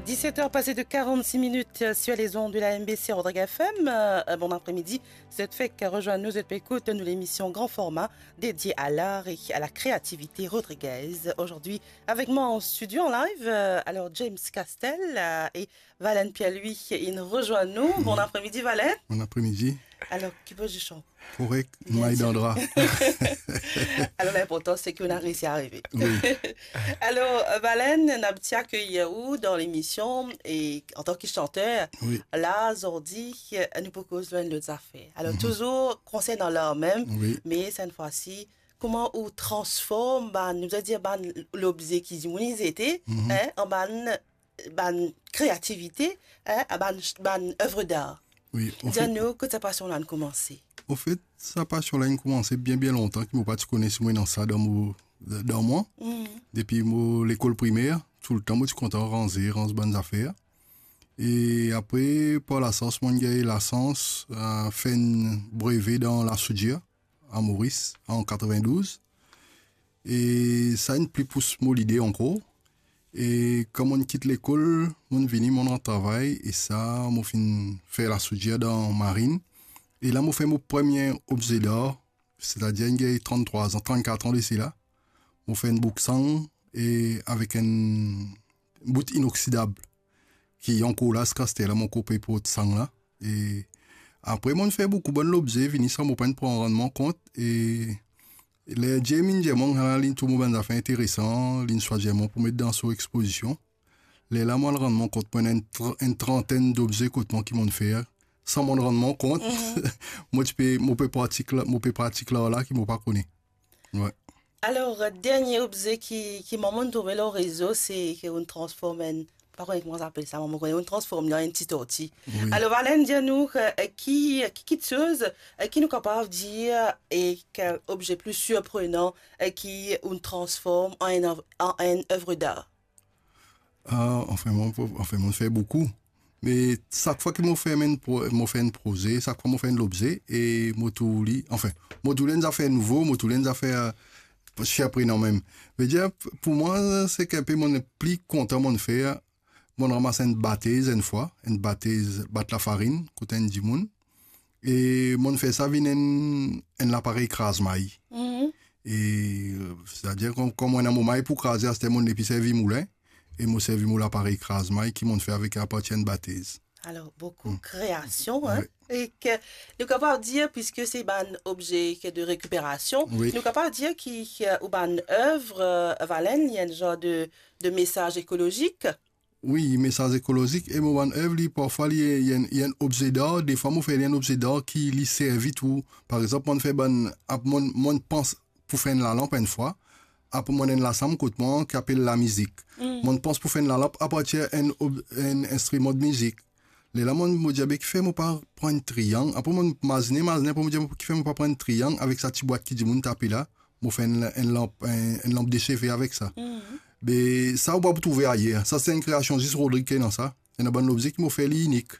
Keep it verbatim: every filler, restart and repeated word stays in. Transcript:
Dix-sept heures passées de quarante-six minutes sur les ondes de la M B C Rodrigues F M. Euh, bon après-midi. Zot fek rezwenn nou, zot pe ekout nou lemision Grand Format dedie à l'art et à la créativité rodriguaise. Aujourd'hui, avec moi en studio, en live, euh, alors James Castel, euh, et Valen Pierre-Louis, inn rezwenn nou. Bon après-midi, Valen. Bon après-midi. Alors, ki poz ou? Korek, Bien may dan dra. Alors, l'important, c'est qu'on a réussi à arriver. Oui. Alors, euh, Valen, nou ti akeyir ou dan lemision e antan ki santer, Oui. la, zordi, euh, nou pou koz lor enn lot zafer. Alors, Mhm. touzour konsernan lar mem, Oui. me cette fois-ci, kouma ou transform bann, nou dir bann lobze ki dimoun inn zete, Mhm. hein, an bann, bann kreativite, hein, an bann, bann oeuvre d'art. Oui, an Dir fet, nou kot sa pasion la inn koumanse. An fet, sa pasion la inn koumanse bien, bien lontan, ki mo pa ti kone si mo ena sa dan mo, dan mwa. Mhm. Depi mo lekol primer, toultan mo ti kontan ranze, ranz bann zafer. E apre, par lasans, mo'nn gagn lasans, euh, fer enn breve dan lasoudir a Moris an katrevin-douz. E sa inn pli pous mo lide ankor. E kan mo'nn kit lekol, mo'nn vini, mo'nn rant travay, e sa, mo finn fer lasoudir dan marin. E la, mo fer mo premie obze d'art, setadir inn gagn tranntrwa an, trannkat an de sela. Mo fer enn bouksang, e avek enn bout inoksidab, ki ankor la, ziska aster la, mo ankor pe port sang la. E apre, mo'nn fer boukou bann lobze, vini sa, mo pa'nn pran rann mwa kont, e ler James inn dir mwa, "Ala, linn trouv mo bann zafer interesan," linn swazir mwa pou met dan so expozision. Lerla, mo al rann mwa kont, mo ena enn tr-, enn trantenn d'obze kot mwa ki mo'nn fer, san mo'nn rann mwa kont. Mhm. Mo ti pe, mo pe pratik la, mo pe pratik lar la ki mo pa kone. Wi. Alors, euh, dernie obze ki, ki mo'nn trouve lor rezo, se ki ou'nn transform enn, pa kone kouma sa apel sa, mo kone ou'nn transform li an enn ti torti. Wi. Alors, Valen, dir nou, euh, ki, ki kiksoz, euh, ki nou kapav dir, e ki obze pli sirprenan, euh, ki ou'nn transform an enn, an enn oeuvre d'art? Ah, anfin, mo, anfin, mo'nn fer boukou. Me sak fwa ki mo fer enn pro-, mo fer enn proze, sak fwa mo fer enn lobze, e mo trouv li, anfin, mo trouv li enn zafer nouvo, mo trouv li enn zafer, euh, sirprenan mem. Vedir, pou mwa, seki inpe mo'nn pli kontan mo'nn fer, mo'nn ramas enn batez enn fwa, enn batez bat lafarinn kot enn dimoun. E mo'nn fer sa vinn enn, enn laparey kraz may. Mhm. E, euh, setadir, kom, kom mo ena mo may pou kraze, aster mo'nn nepli servi moulen, e mo servi mo laparey kraz may ki mo'nn fer avek apartir enn batez. Alors, beaucoup Mm. création, hein? Wi. E ki nou kapav dir, puisque se bann obze ki de récupération, Wi. nou kapav dir ki, ki, euh, ou bann oeuvre, euh, Valen, li ena enn zanr de, de mesaz ekolozik. Wi, mesaz ekolozik, e mo bann oeuvre, li, parfwa, li, li enn, li enn obze d'art, defwa mo fer li enn obze d'art ki li servi tou. Par exanp, mo'nn fer bann, ap, mo'nn, mo'nn pans pou fer enn lalanp enn fwa, apre mo'nn ena enn lasam kot mwa ki apel lamizik. Mm. Mo'nn pans pou fer enn lalanp apartir enn ob-, enn instriman de mizik. Lerla mo'nn, mo dir, "Be, kifer mo pa pran enn triang?" Apre mo'nn mazine, mazine, apre mo dir, "Kifer mo pa pran enn triang avek sa ti bwat ki dimoun tape la?" Mo fer enn, enn lanp, enn, enn lanp de seve avek sa. Mhm. Be, sa ou pa pou trouve ayer. Sa se enn kreasion zis Rodrig ki ena sa. Ena bann lobze ki mo fer li inik.